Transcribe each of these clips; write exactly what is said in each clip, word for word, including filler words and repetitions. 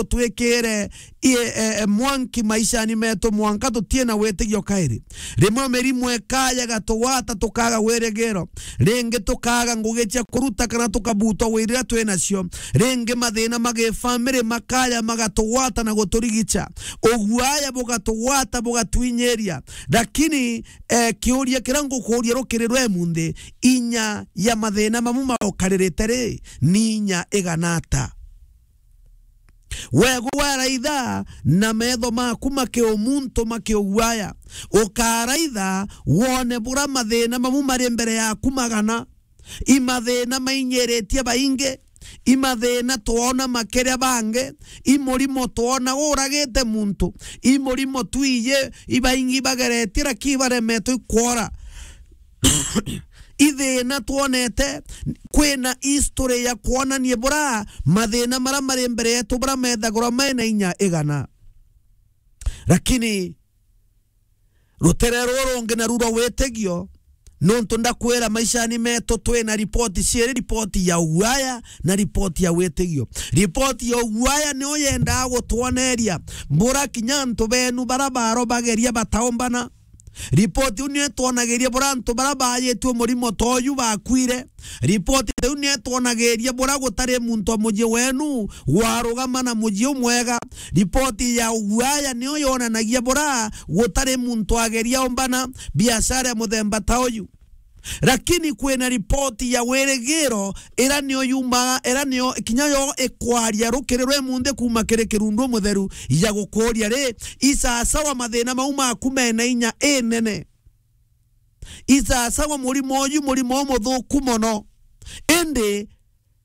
utwikire i-, e, e, mwanki maishani metu mwanka tutie na witigio kairi. Rimwe mirimu ikaja igatugwata, tukaga wirigiro. Ringi tukaga ngugi cia kuruta kana tukabutwa wirira twi nacio. Ringi mathina ma gifamiri makaja magatugwata na guturigica. Uguaya bugatugwata, bugatwinyiria. Lakini, eh, kiuria kiria ngukuria rukiri rwa imunthi, inya ya mathina mamu maukaririte ri, ni inya igana ata? Wegu waraitha na metho maku makiumuntu makiuguaya, ukaraitha wone bura mathina mamu mari mbere yaku magana. I mathina mainyiritie baingi, i mathina twona makiria bangi, i murimo twona uragite muntu, i murimo twiji ibaingi bageretie lakini baremetwe ikwora. I thina twonete, kwina history ya kwonania bura mathina mara mari mbere yetu bura methagurwa mena inya igana. Lakini rutere ruru rungi naru rwa witigio, nontu ndakwira maishani metu twina ripoti ciiri, ripoti ya uguaya na ripoti ya witigio. Ripoti ya uguaya niyo yendaa gutwoneria bura kinya antu benu bara baro bageria bataombana. Ripoti iu niyo itwonagiria bura antu bara baajitue murimo ta uju bakwire. Ripoti iu niyo itwonagiria bura gutari muntu wa mucii wenu warugama na mucii umwega. Ripoti ya uguaya niyo yonanagia bura gutari muntu ageria ombana biashara ya muthemba ta uyu. Lakini kwina ripoti ya wirigiro, ira niyo yumaga, ira niyo kinya yo ikwaria rukiri rwa imunthi kuuma kiri kirundu mutheru ya gukuria ri, isasawa mathina mau maku mena inya inene. Isasawa murimo uyu, murimo umuthuku mono. Indi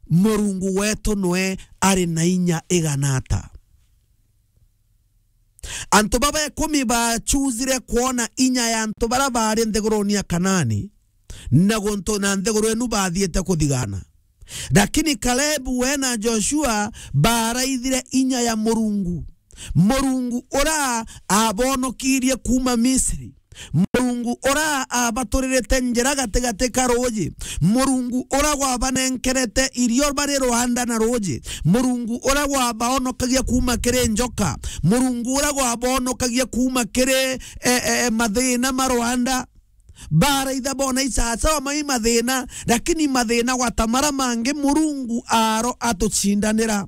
Murungu wetu nwe ari na inya igana ata? Antu baba ikumi bachuzire kwona inya ya antu bara bari nthiguruni ya Kanaani, na guntu na nthiguru inu bathiite kuthigana. Lakini Kalebu we na Joshua baraithire inya ya Murungu. Murungu ura abonokirie kuuma Misri. Murungu ura abaturirite njira gatigati ka ruuji. Murungu ura gwabanenkerete irio bari rwanda na ruuji. Murungu ura gwabaonokagia kuuma kiri njoka. Murungu ura gwabaonokagia kuuma kiri, e, e, e, mathina ma rwanda. Baraitha bona isasawa mai mathina, lakini mathina gwata mara mangi Murungu aro atucindanira.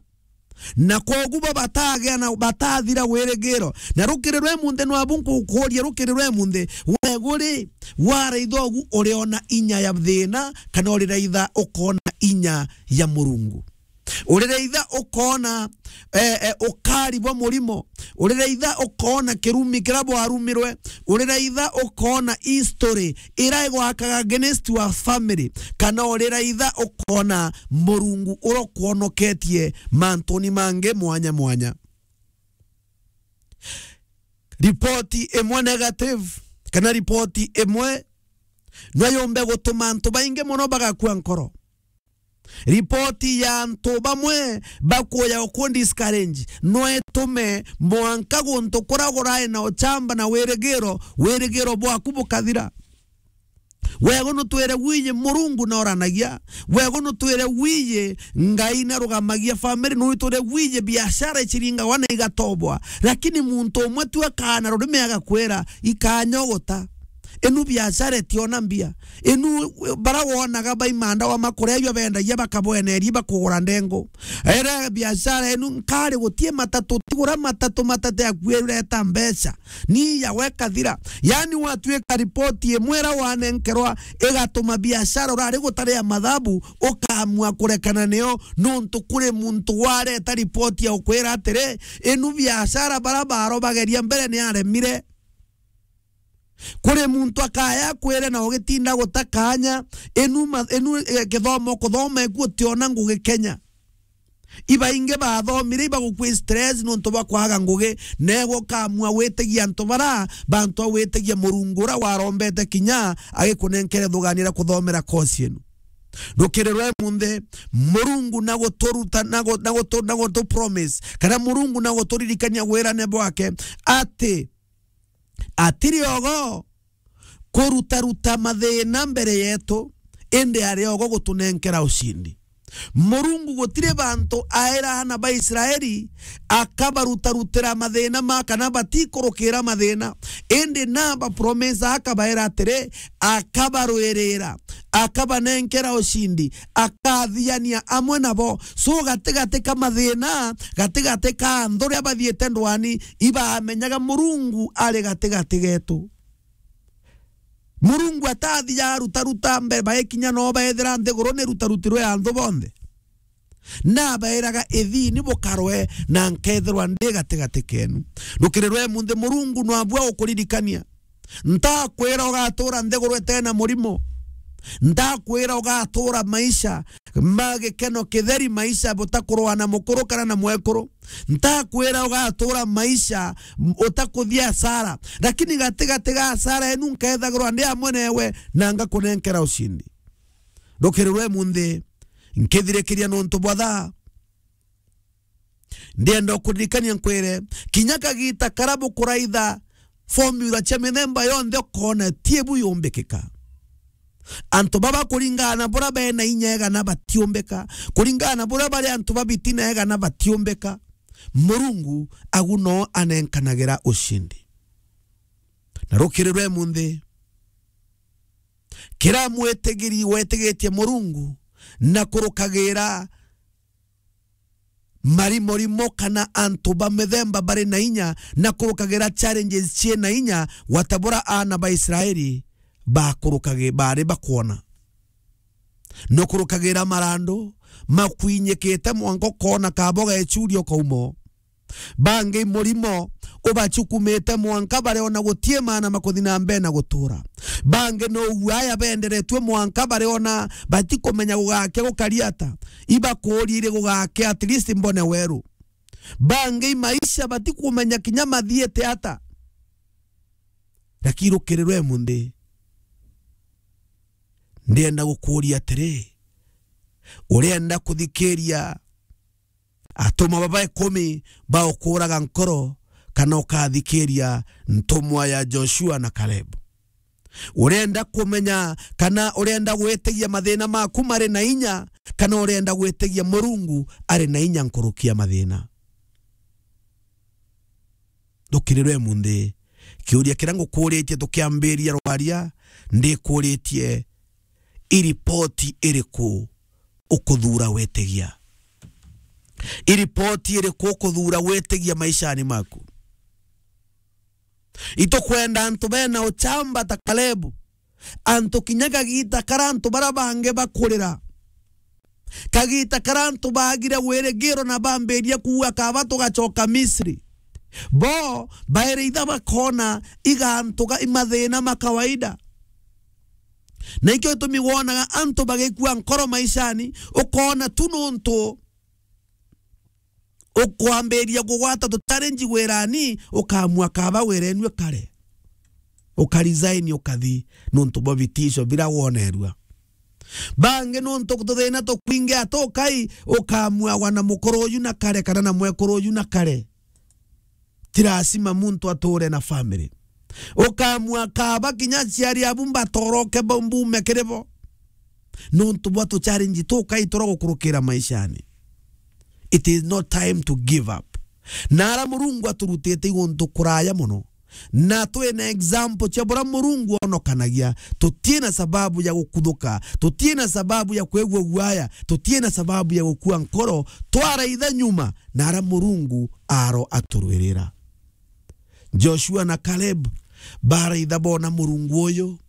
Na kwogu bo batagea na batathira wirigiro. Na rukiri rwa imunthi nwabu nkukuria rukiri rwa imunthi, wegu ri, waraitha ugu uriona inya ya thina, kana uriraitha ukona inya ya Murungu? Uriraitha ukona, eh, eh, ukari bwa murimo? Uriraitha ukona kirumi kira bwarumirwe? Uriraitha ukona history ira igwakaga against wa family, kana uriraitha ukona Murungu uria ukwonoketie mantuni mangi mwanya mwanya? Ripoti imwe negative, kana ripoti imwe no yumbe gutuma antu baingi mono bagakua nkoro. Ripoti ya antu bamwe bakuya uku discourage no itume mwanka guntu kuria gurai na uchamba na wirigiro, wirigiro bwaku bukathira. Wegu nutwire wiji Murungu noranagia. Wegu nutwire wiji Ngai narugamagia family. Nutwire wiji biashara iciringagwa na igatobwa. Lakini muntu umwe tu akana rurimi agakwira, "Ikanyogota. Inu biashara itiona mbia. Inu bara wonaga baimanda wa makuria ijo bendagia bakabweneria bakugura ndengu. Era biashara inu nkari gutie matatu, tigura matatu, matatu yaku ireta mbeca." Ni ya weka thira. Yani, watwika ripoti imwe ira wanenkerwa igatuma biashara urari gutari ya mathabu, ukamua kurekana niyo, nontu kuri muntu wareta ripoti ya ukwira atiri, inu biashara bara baro bageria mbere ni aremire. Kuri muntu akaya akwire na ugitinda guta kanya, inu ma-, inu, eh, kithomo kuthoma iku utiona ngugi Kenya. Ibaingi bathomire ibagukwi stress nontu bwa kwaga ngugi, negwe ukamua witigia antu bara, bantu a witigia Murungu ura warombete kinya agikunenkere thuganira kuthomera course inu. Rukiri rwa imunthi, Murungu na guturuta, na gu-, na gutu-, na gutu promise, kana Murungu na guturirikania wirane bwake, ati atiri ogo kurutaruta mathina mbere yetu, indi ari ogo gutunenkera ucindi. Murungu gutiri bantu aera aana ba Israeli akabarutarutira mathina ma kana batikurukira mathina, indi na ba promise akabaera atiri, akabarwirira, akabanenkera ucindi, akathiania amwe nabo. So gatigati ka mathina, gatigati ka anthu uria bathiite ndwani, ibamenyaga Murungu ari gatigati getu. Murungu atathiaga arutaruta mbere, baikinya no beethira nthiguru ni rutarutirwe anthu bonthe. Na abeeraga, "Ithiini bukarwe, na nkeethirwa ndi gatigati keenu." Rukiri rwa imunthi, Murungu nwabua gukuririkania. Ntakwira ugatuura nthiguru itena murimo. Ntakwira ugatuura maisha ma gikeno kitheri, maisha butakurwa na mukuru kana na mwekuru. Ntakwira ugatuura maisha m-, utakuthia hasara, lakini gatigati ga hasara enu nkeethagirwa ndi amwe newe na ngakunenkera ucindi. Rukiri rwa imunthi, nkithirikiria nontu bwa thaa, ndienda ukuririkania nkwire, kinya kagiita karia bukuraitha formula cia mithemba yonthe, ukoona ti bu yumbikika. Antu baba kuringana na buria bena inya igana batiumbika, kuringana na buria bari antu ba bitina igana batiumbika. Murungu agu no anenkanagira ucindi. Na rukiri rwa imunthi, kira mwitigiri wetigitie Murungu na kurukagira marimorimo kana antu ba mithemba bari na inya na kurukagira challenges cii na inya, gwata buria aana ba Israeli bakurukagi-, bari bakwona. Nukurukagira marandu makwinyikite mwanka ukoona kaba ugechuria ukauma o. Bangi murimo ubachukumite mwanka bariona gutii maana makuthi na mbere na gutura. Bangi no uguaya benderetue mwanka bariona batikumenya gugake gukari ata. Ibakuuria iri gugake, at least mbone weru. Bangi maisha batikumenya kinya mathiite ata. Lakini rukiri rwa imunthi, ndienda gukuuria atiri, urienda kuthikiria atumwa baba ikumi baukuraga nkoro, kana ukathikiria ntumwa ya Joshua na Caleb? Urenda kumenya kana urenda gwitigia mathina maku mari na inya, kana urenda gwitigia Murungu ari na inya nkuruki ya mathina? Rukiri rwa imunthi, kiuria kiria ngukuritie tukiambiria rwaria, ndikuritie, i ripoti iriku ukuthuura gwitigia? I ripoti iriku ukuthuura gwitigia maishani maku? Itukwenda antu bena uchamba ta Kalebu. Antu kinya kagiita karia antu baria bangi bakurira, kagiita karia antu baagire wirigiro na bambiria kuuga, "Kaba tugacoka Misri." Bo bairi itha bakoona iga antu ga, i mathina ma kawaida. Na ikio gitumi wonaga antu bagikua nkoro maishani, ukoona tu nuntu ukwambiria kugwata tu challenge wirani, ukamua kaba wira enu ikare. Uka resign ukathi nuntu bwa vitisho bira wonerua. Bangi nuntu tuthina tukwingi atukai, ukamua wana mukuru uyu na kare kana na mwekuru uyu na kare. Ti lazima muntu ature na family. Ukamua kaba kinya aciari abu mbatoroke bo, mbume kiri bo. Nuntu bwa tu challenge tukai tura gukurukira maishani. It is not time to give up. Na ara Murungu aturutite i guntu kuraya mono. Na twina example cia buria Murungu onokanagia. Tutina sababu ya gukuthuka. Tutina sababu ya kwigua guaya. Tutina sababu ya gukua nkoro. Twaraitha nyuma na ara Murungu aro aturwirira. Joshua na Caleb baraitha bona Murungu uyu.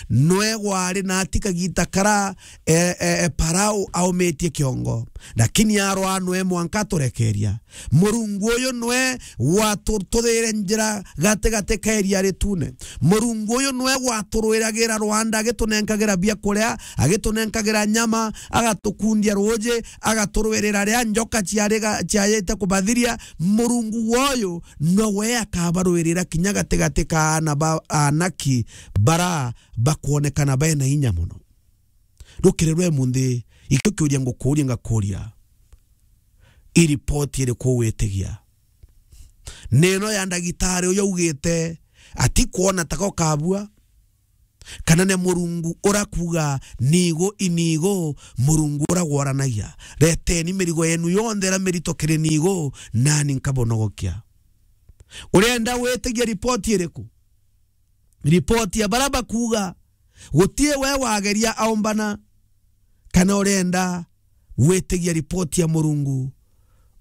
Nwe gwari na ati kagiita kara, e, e, e, Parao aumitie kiongo. Lakini arwa nwe mwanka aturekeria. Murungu uyu nwe watuthire njira gatigati ka iria ritune. Murungu uyu nwe waturwiragira rwanda, agitunenkagira biakuria, agitunenkagira nyama, agatukundia ruuji, agaturwirira ria njoka ciariga-, ciayite kubathiria. Murungu woyo nowe akabarwirira kinya gatigati ka aana ba Anaki bara bakwonekana bena inya mono. Rukiri rwa imunthi, ikio kiuria ngukuuria ngakuuria, i ripoti iriku witigia? Ni ino ya ndagitari uyu augite atikwona taka ukabua? Kana ni Murungu ura kuuga, "Niigu, iniigu, Murungu ura gwaranagia. Reteni mirigo yenu yonthe ira mirito kiri niigu, nani nkabonogokia." Urenda witigie ripoti iriku? Ripoti ya baria bakuuga, "Gutii we wageria aumbana," kana urenda witigie ripoti ya Murungu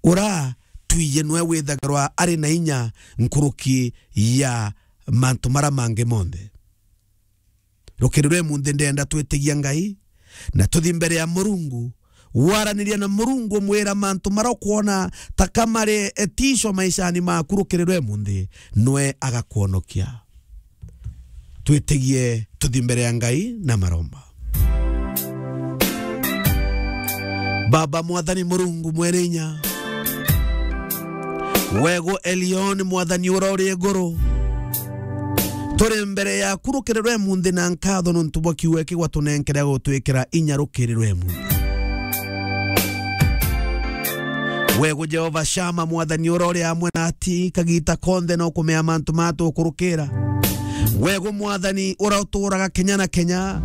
ura twiji nwe withagirwa ari na inya nkuruki ya mantu maria mangi monthe? Rukiri rwa imunthi ndenda twitigie Ngai na tuthi mbere ya Murungu, waraniria na Murungu, umwira mantu maria ukwona ta ka mari etisho maishani maku rukiri rwa imunthi, nwe agakwonokia. Twitigie tuthi mbere ya Ngai na maromba. Baba Mwathani Murungu mwene inya, wegu Elion Mwathani ura uri iguru, turi mbere yaku rukiri rwa imunthi na nkatho nontu bwa kiugo giki gwatunenkere gutwikira inya rukiri rwa imunthi. Wegu Jehova Shama, Mwathani ura uri amwe nati kagita konthe na ukumea mantu matukurukira. Wegu Mwathani ura uturaga kenya na kenya,